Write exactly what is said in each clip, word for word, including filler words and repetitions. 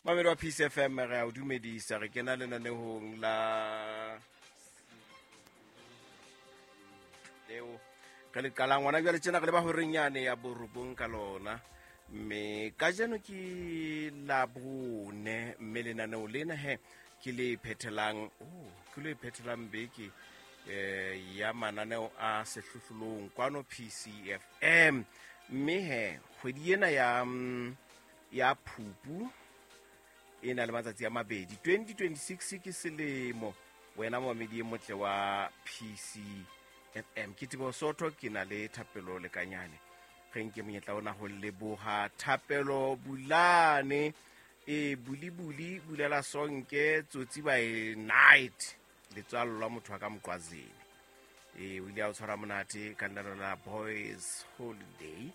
Mamedi wa P C F M, re a o dumedisa, re kena lenanehong la leo re le qalang ngwana jwale tjena re le ba horeng yane ya borobong ka lona. Mme kajeno ke Labone, mme lenaneo lena he ke le phethelang, oh, ke le phethelang beke eh ya mananeo a sehlohlolong kwano P C F M. Mme he kgwedi ena ya, ya Phupu e na le matsatsi a mabedi, twenty twenty-six ke selemo. Wena momamedi e motle wa P C F M, ke Teboho Sotho, ke na le Thapelo Lekanyane. Re nke monyetla ona ho leboha Thapelo Bulane, e bulibuli bulela sonke tsotsi by night, letswalo la motho wa ka Moqwazini. E o ile a o tshwara monate ka lenaneo la Boys Holiday.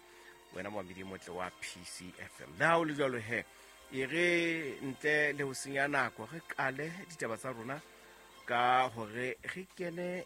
Wena momamedi e motle wa P C F M, le ha o le jwalo he, e re ntle le ho senya nako re qale ditaba tsa rona ka hore re kene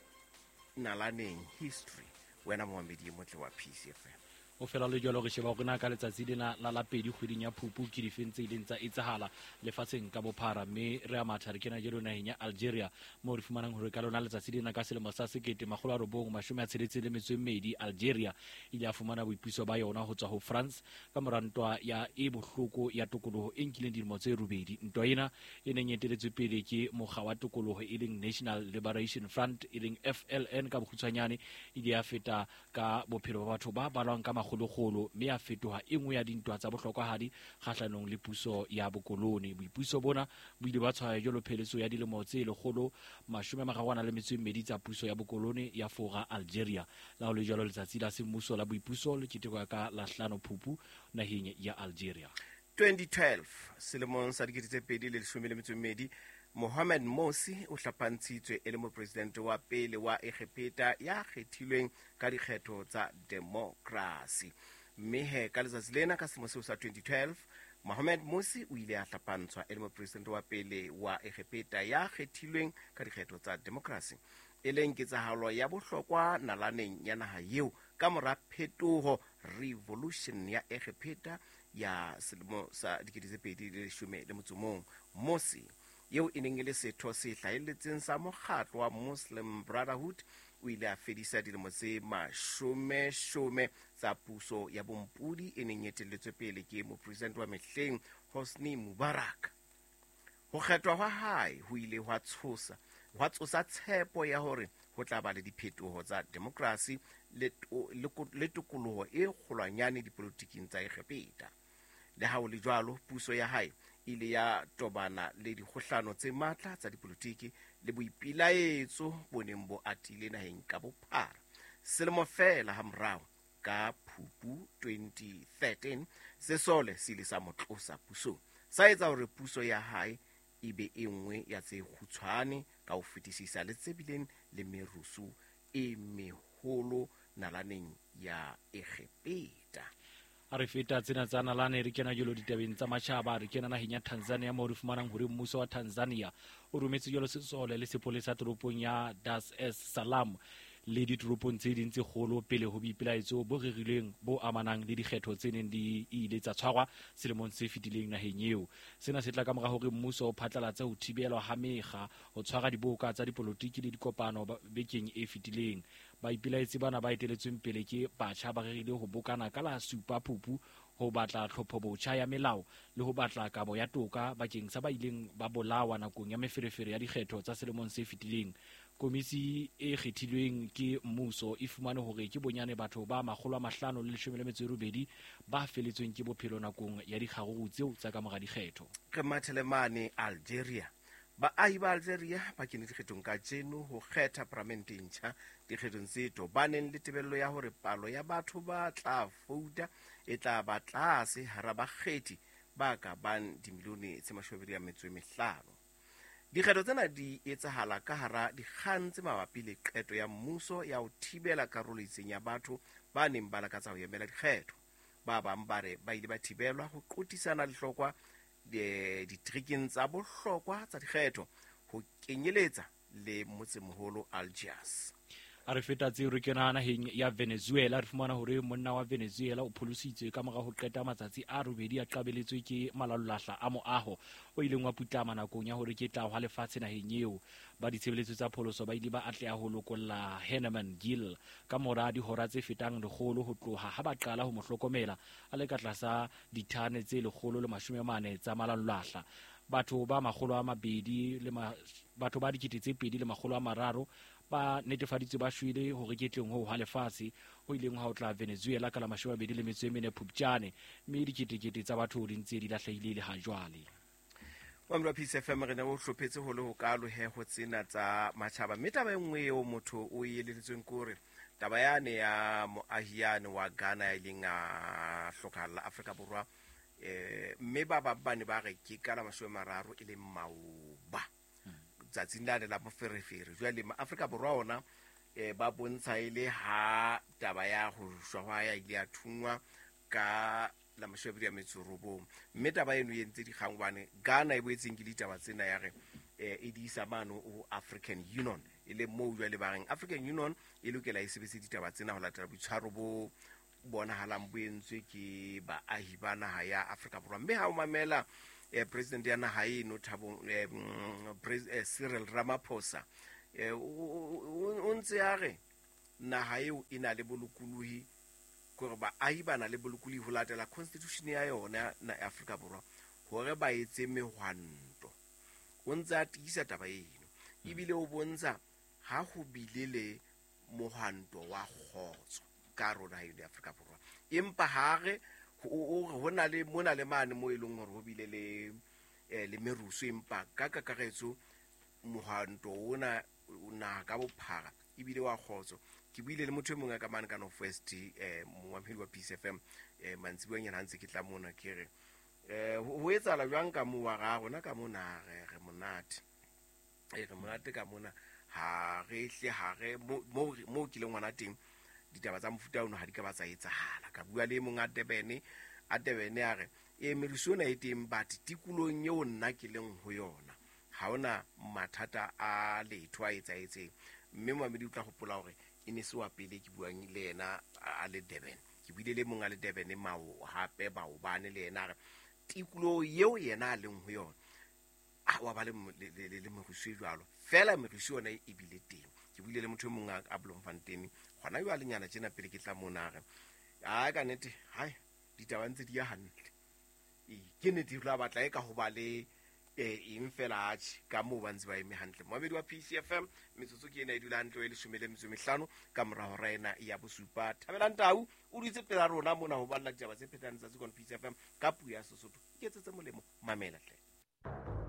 nalaneng history. Wena momamedi e motle wa P C F M, o fela le jwalo re sheba hore na ka letsatsi lena la la pedi kgweding ya Phupu ke difeng tse ileng tsa etsahala lefatsheng ka bophara. Mme re a matha re kena jalo naheng ya Algeria, moo re fumanang hore ka lona letsatsi lena ka selemo sa sekete makgolo a robong mashome a tsheletseng le metso e mmedi, Algeria e ile ya fumana boipuso ba yona ho tswa ho France ka mora ntwa ya e bohloko ya tokoloho e nkileng dilemo tse robedi. Ntwa ena e neng e eteletswe pele ke mokga wa tokoloho e leng National Liberation Front e leng F L N ka bokgutshwanyane, e ile ya feta ka bophelo ba batho ba balwang ka makgolokgolo, mme ya fetoha e nngwe ya dintwa tsa bohlokwahadi kgahlanong le puso ya bokolone. Boipuso bona bo ile ba tshwaya jwalo pheletso ya dilemo tse lekgolo mashome a mararo a nang le metso e mmedi tsa puso ya bokolone ya Fora Algeria. La ho le jwalo, letsatsi la semmuso la boipuso le ketekwa ka la hlano Phupu naheng ya Algeria. twenty twelve, selemong sa dikete tse pedi le leshome le metso e mmedi, Mohamed Morsi o hlapantshitswe e le mopresidente wa pele wa Egepeta ya kgethilweng ka dikgetho tsa demokrasi. Mme he ka letsatsi lena ka selemo seo sa twenty twelve, Mohamed Morsi o ile a hlapantshwa e le mopresidente wa pele wa Egepeta ya kgethilweng ka dikgetho tsa demokrasi, e leng ketsahalo ya bohlokwa nalaneng ya naha eo ka mora phetoho revolution ya Egepeta ya selemo sa dikete tse pedi le leshome le motso o mong. Morsi, eo e neng e le setho se hlahelletseng sa mokgatlo wa Muslim Brotherhood, o ile a fedisa dilemo tse mashomeshome tsa puso ya bompodi e neng e etelletswe pele ke mopresidente wa mehleng Hosni Mubarak. Ho kgethwa hwa hae ho ile hwa tshosa, hwa tsosa tshepo ya hore ho tla ba le diphetoho tsa demokrasi le to-, le ko-, le tokoloho e kgolwanyane dipolotiking tsa Egepeta. Le ha ho le jwalo, puso ya hae e ile ya tobana le dikgohlano tse matla tsa dipolotiki le boipilaetso bo neng bo atile naheng ka bophara. Selemo feela hamorao, ka Phupu twenty thirteen, sesole se ile sa mo tlosa pusong, sa etsa hore puso ya hae e be e nngwe ya tse kgutshwane ka ho fetisisa le tse bileng le merusu e meholo nalaneng ya Egepeta. A re feta tsena tsa nalane, re kena jwalo ditabeng tsa matjhaba. Re kena naheng ya Tanzania, moo re fumanang hore mmuso wa Tanzania o rometse jwalo sesole le sepolesa toropong ya Dar es Salaam le ditoropong tse ding tse kgolo pele ho boipelaetso bo rerilweng bo amanang le dikgetho tse neng di ile tsa tshwarwa selemong se fetileng naheng eo. Sena se tla ka mora hore mmuso o phatlalatse ho thibelwa ha mekga ho tshwara diboka tsa dipolotiki le dikopano ba-, bekeng e fetileng. Baipelaetsi bana ba eteletsweng pele ke batjha ba rerile ho bokana ka la supa Phupu ho batla tlhopho botjha ya melao le ho batla kabo ya toka bakeng sa ba ileng ba bolawa nakong ya meferefere ya dikgetho tsa selemong se fetileng. Komisi e kgethilweng ke mmuso e fumane hore ke bonyane batho ba makgolo a mahlano le leshome le metso e robedi ba feletsweng ke bophelo nakong ya dikgaruru tseo tsa ka mora dikgetho. Re mathele mane Algeria. Baahi ba Algeria ba kene dikgethong kajeno ho kgetha palamente e ntjha dikgethong tse tobaneng le tebello ya hore palo ya batho ba tla vouta e tla ba tlase hara bakgethi ba ka bang dimilione tse mashome a mabedi a metso e mehlano. Dikgetho tsena di etsahala ka hara dikgang tse mabapi le qeto ya mmuso ya ho thibela karolo e itseng ya batho ba neng ba lakatsa ho emela dikgetho. Ba bang ba re ba ile ba thibelwa ho qotisana lehlokwa ditrikeng tsa bohlokwa tsa dikgetho ho kenyeletsa le motsemoholo Algiers. A re feta tseo re kena naheng ya Venezuela, re fumana hore monna wa Venezuela o pholositswe ka mora ho qeta matsatsi a robedi a qabeletswe ke malalolahla a moaho o ileng wa putlama nakong ya hore ke tla hwa lefatshe naheng eo. Ba ditshebeletso tsa pholoso ba ile ba atleha ho lokolla Herman Gill ka mora dihora tse fetang lekgolo ho tloha ha ba qala ho mo hlokomela a le ka tlasa dithane tse lekgolo le mashome a mane tsa malalolahla. Batho ba makgolo a mabedi le ma, batho ba dikete tse pedi le makgolo a mararo ba netefaditswe ba shwele hore ke tleng ho ha lefatshe ho ileng ha o tla Venezuela ka la mashome a mabedi le metso e mene Phupjane, mme diketekete tsa batho di ntse di lahlehile le ha jwale. Mamelo Peace F M re ne o hlophetse ho le ho kalo he ho tsena tsa matjhaba, mme taba e nngwe eo motho o e eleletsweng ke hore taba yane ya moahiane wa Ghana ya ileng a hlokahalla Afrika Borwa, eh mme ba ba bane ba re ke ka la mashome a mararo e leng maoba tsatsing lane la moferefere. Jwale ma Afrika Borwa ona eh ba bontsha ile ha taba ya ho shwa hwa ya ile ya thungwa ka la mashome a mabedi a metso robong, mme taba eno e entse dikgang hobane Ghana e boetseng ke ditaba tsena ya re eh e di isa mano ho African Union, e le moo jwale ba reng African Union e lokela e sebetse ditaba tsena ho latela boitshwaro bo bonahalang bo entswe ke baahi ba naha ya Afrika Borwa. Mme ha o mamela eh president ya naha eno Thabo eh, eh, Cyril Ramaphosa eh o ntse a re naha eo e na le bolokolohi, hore baahi ba na le bolokolohi ho latela constitution ya yona na Afrika Borwa hore ba etse mehwanto. O ntse a tiisa taba eno ebile o bontsha ha ho bile le mohwanto wa kgotso ka rona eno ya Afrika Borwa, empa ha re ho na le mona le mane mo e leng hore ho bile le le merusu, empa ka kakaretso mohwanto ona na ka bophara ebile wa kgotso. Ke buile le motho e mongwe ka mane ka North West eh moamehedi wa Peace F M eh mantsibueng yana ntse ke tla mona ke re eh ho etsahala jwang ka mo wa ga rona ka mona re re monate e re monate ka mona ha re hle ha re mo mo ke le ngwana teng ditaba tsa mofuta ono ha di ka ba tsa etsahala. Ka bua le mong a Durban a Durban a re e merusu ona e teng but tikolong eo nna ke leng ho yona ha ona mathata a letho a etsaetseng. Mme moamedi o tla hopola hore e ne se wa pele ke buang le yena a le Durban, ke buile le mong a le Durban mao hape baobane le yena a re tikoloho eo yena a leng ho yona a wa ba le le merusu e jwalo fela merusu yona e bile teng. Ke buile le motho e mong a Bloemfontein gona jwale nyana tjena pele ke tla mona a re a ka nnete hai ditaba ntse di ya hantle, e ke nnete ho la batla e ka ho ba le eng fela atjhe ka moo ba ntse ba eme hantle. Moamedi wa P C F M metsotso ke ena e dula hantle e leshome le metso e mehlano ka mora hora ena ya bosupa. Thabelang Tau o dutse pela rona mona ho balla ditaba tse phetang letsatsi kwana P C F M ka puo ya Sesotho. Iketsetse molemo, mamela hle.